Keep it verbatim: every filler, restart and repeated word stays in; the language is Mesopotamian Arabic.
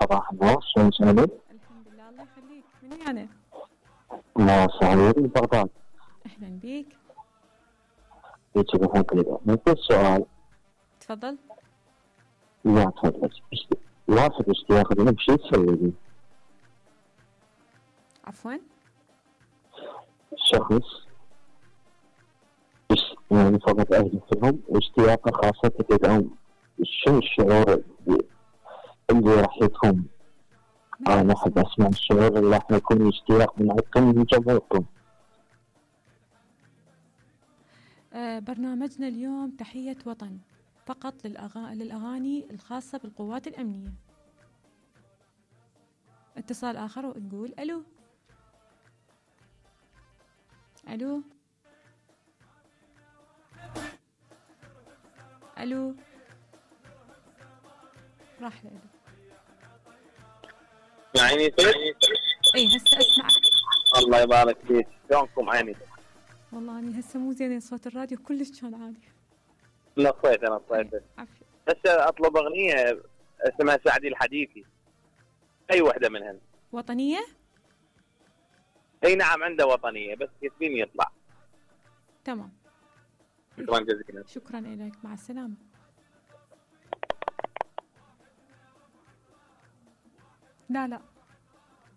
صباح النور، شلون سالك؟ الحمد لله، الله يخليك. من يعني؟ ما سعيد من بغداد. أهلا بيك. هيك بحب كذا. ممكن سؤال؟ تفضل. لا تفضل. اشت- واحد يشتي ياخذ منك شو تسوي لي؟ عفوا. شخص يش- يعني فقط أهلي فيهم واشتياقه خاصة تدعم، شو الشعور اللي اللي راح يكون؟ ما أنا أحب أسمع الشعور اللي راح يكون اشتياق من عندكم من جمهوركم. آه برنامجنا اليوم تحية وطن فقط للأغا... للأغاني الخاصة بالقوات الأمنية. اتصال آخر ونقول ألو. ألو ألو. راح لألو. يعني اي هسه اسمعك. الله يبارك فيك، شلونكم عيني؟ والله اني هسه مو زين صوت الراديو كلش كان عالي. نصيت انا نصيت. عافية. هسه اطلب اغنيه اسمها سعدي الحديثي، اي وحده منهن. وطنية؟ اي نعم عنده وطنيه بس ياسمين يطلع. تمام. شكرا جزيلا. شكرا لك، مع السلامة. لا لا